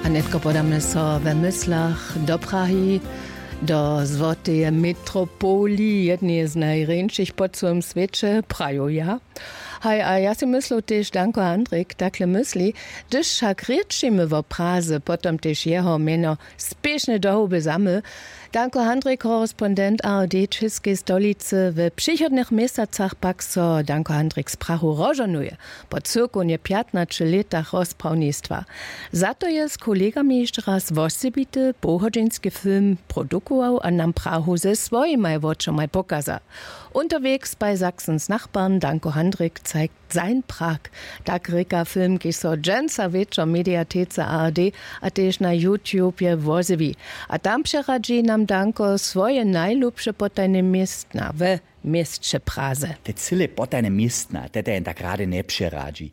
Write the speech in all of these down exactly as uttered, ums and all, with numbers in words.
A nětko podamy so we myslach do Prahi, do złoteje metropoli, jedneje z najrjeńšich po cyłym swěće, praju ja. Haj, a ja sej myslu, tež Danko Handrik takle mysli. Hdyž wšak rěčimy wo Praze, potom tež jeho mjeno spěšnje do hołby zamył. Danko Handrik, korespondent A R D w Čěskej stolicy. W přichodnych měsacach pak so Danko Handrik z Prahu rozžohnuje po cyłkownje pjatnaće lětach rozprawnistwa. Za to je z kolegami hišće raz wosebity połhodźinski film produkował a nam Prahu ze swojimaj wočomaj pokaza. Unterwegs bei Sachsens Nachbarn Danko Handrik zeigt sein Prag. Tak rěka film, kiž so dźensa wječor w mediatece A R D a tež na YouTubje wozjewi. A tam přeradźi nam Danko swoje najlubše potajne městna we měsće Praze. Te cyle potajne městna, te te jen tak rady njepřeradźi.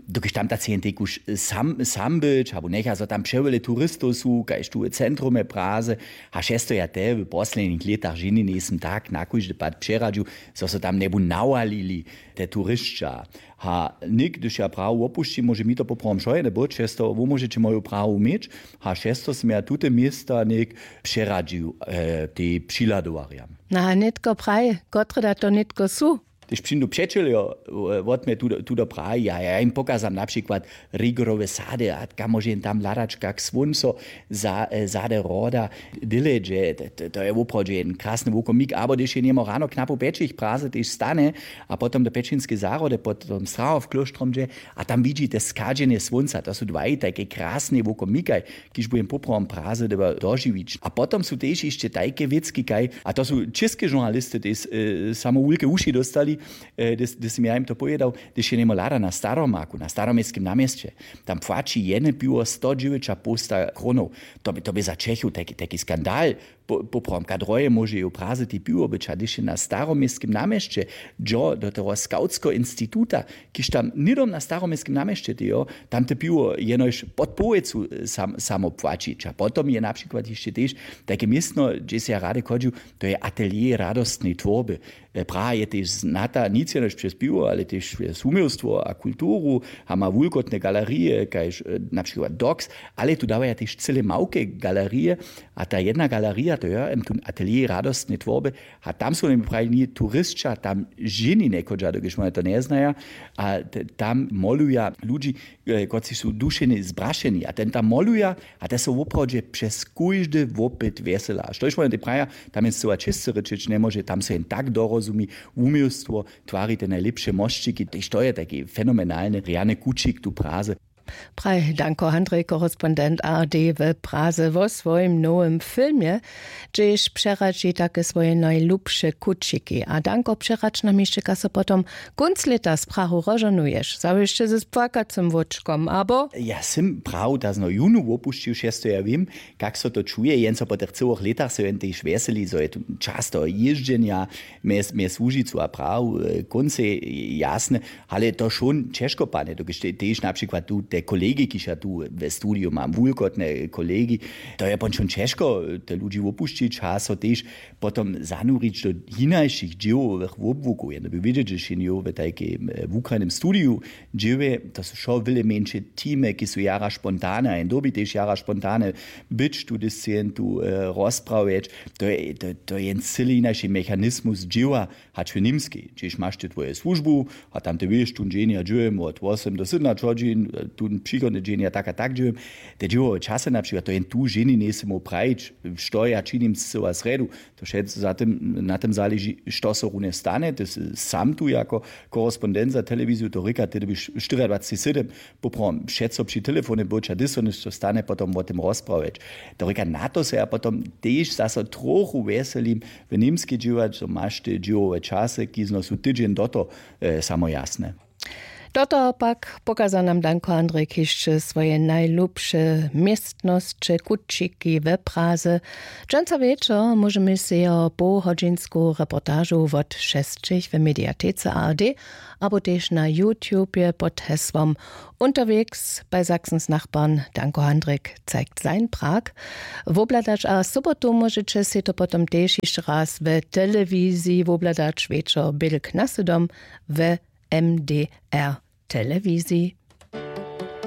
Dokelž tam ta cejn tež sam, sam być, abo njecha so tam přewjele turistow su, kaž tu w centrumje Praze. A šesto ja te w poslednich lětach ženi njejsym tak na kóždy pad přeradźił, zo so tam njebu nawalili te turisća. Ha něk, hdyž ja Prahu wopušćim, móže mi to poprawom wšojene być, šesto, wo móžeće moju Prahu měć. Ha šesto sym ja tute města něk přeradźił, e, tej přihladowarjam. Na nětko praj, kotre da to nětko su? Hdyž přińdu přećeljo, e, wot mje tu, tu do Prahi, a ja jim pokazam na přikład Rigorowe sady, a kam móže jen tam hladač, kak słónco za, e, zady hroda, dyle dźe, to, to, to je woprawdźe jen krasny wukomik. Abo hdyž je němo rano knapu pjećich w Praze tež stane, a potom do pjećinskeje zahrody pod tom Strahov klóštrom dźe, a tam widźi te schadźenje słónca, to su dwaj tajke krasne wukomikaj, kiž budem poprawom Praze dyrbjał dožiwić. A potom su tež hišće tajke wěcki kaj, a to su česke žurnalisty tež, e, samo wulke wuši dóstali, e, hdy, hdy sym ja jim to powědał, hdyž je němo hlada na Staromaku, na Staroměstskem naměsće, tam płaći jedne piwo sto dźewjećapołsta krónow. To bě, to bě za Čechow tajki, tajki skandal. Po, poprawom, ka droje móže jo w Praze tej piwo być, a hdyž je na Staroměstskem naměsće dźo do toho skawtskeho instituta, kiž tam hnydom na Staroměstskem naměsće tejo, tam te piwo jenož pod połojcu, e, sam, samo płaćić. A potom je na přikład hišće tež tajke městno, hdźež sej ja rady chodźił, to je Atelier radostnej twórby. E, Praha je tež znata nic jenož přez piwo, ale tež přez wuměłstwo a kulturu, a ma wulkotne galerije, kaž, e, na přikład Dox, ale tu dawaja tež cyle małke galerije. A ta jedna galerija, to je, em, tu Atelier radostnej twórby, a tam su mi prajili, turisća tam ženi njechodźa, dokelž wone to njeznaja, a t-, tam moluja ludźi, e, kotřiž su dušenje zbrašeni, a ten tam moluja, a te su woprawdźe přez kóždy wopyt wjesela. A štož wone te praja, tam je scyła čěsće rěčeć njemóže, tam so jen tak dorozumi, wuměłstwo twari te najlěpše mosćiki, tež to je tajki fenomenalny rjany kućik tu w Praze. Praj Danko Handrij, korespondent A R D w Praze, wo swojim nowym filmje, hdźež přeradźi take swoje najlubše kućiki. A Danko, přeradź nam hišće, kaž so potom kónc lěta z Prahu rozžohnuješ, zawěsće z płakacym łóčkom, abo? Ja sym Prahu tazno jónu wopušćił, šesto ja wěm, kak so to čuje, jen so po tych cyłych lětach so jen tež wjeseli, zo je tu čas toho jězdźenja mjez, mjez Łužicu a Prahu, e, kóncej jasne, ale to wšón ćežko padne, dokelž te-, tež na přikład tu te kolegi, kiž ja tu we studiju mam, wulkotne kolegi, to je pon wšón ćežko, te ludźi wopušćić, a so tež potom zanurić do hinašich dźěłowych wobłukow. Jedno by wědźeć, że šenjo w tajkim, e, wukrajnym studiju dźěłuje, to su wšo wjele mjeńše teamy, ki su jara spontane, a jen dyrbi tež jara spontane być tu, hdyž sće jen tu, e, rozprawjeć. To je, to, to je jen cyli hinaši mechanizmus dźěła, hač w Němskej, hdźež maš ty twoju słužbu, a tam ty wěš, tón dźeń ja dźěłam wot wosym do sydomnaće hodźin, tón přichodny dźeń ja tak a tak dźěłam. Te dźěłowe časy na přikład, to jen tu ženi njejsym móhł prajić, što ja činim scyła srjedu, to wšetc za tym, na tym zaleži, što so runje stane. Ty sy sam tu jako korespondent za telewiziju, to rěka, ty dyrbiš štyriadwaceći sedym poprawom přeco při telefonje być, a hdyž so něšto stane, potom wo tym rozprawjeć. To rěka, na to so ja potom tež zaso trochu wjeselim, w Němskej dźěłać, zo maš te dźěłowe časy, ki zno su tydźeń do to, e, samo jasne. Do toho pak pokaza nam Danko Handrij hišće swoje najlubše městnosće, kućiki we Praze. Dźensa wječor móžemy sej jeho połhodźinsku reportažu wot šesćich w mediatece A R D abo tež na YouTubje pod hesłom Unterwegs bei Sachsens Nachbarn Danko Handrik zeigt sein Prag wobhladać. A sobotu móžeće sej to potom tež hišće raz w telewiziji wobhladać, wječor bědlk na sydom w M D R telewiziji.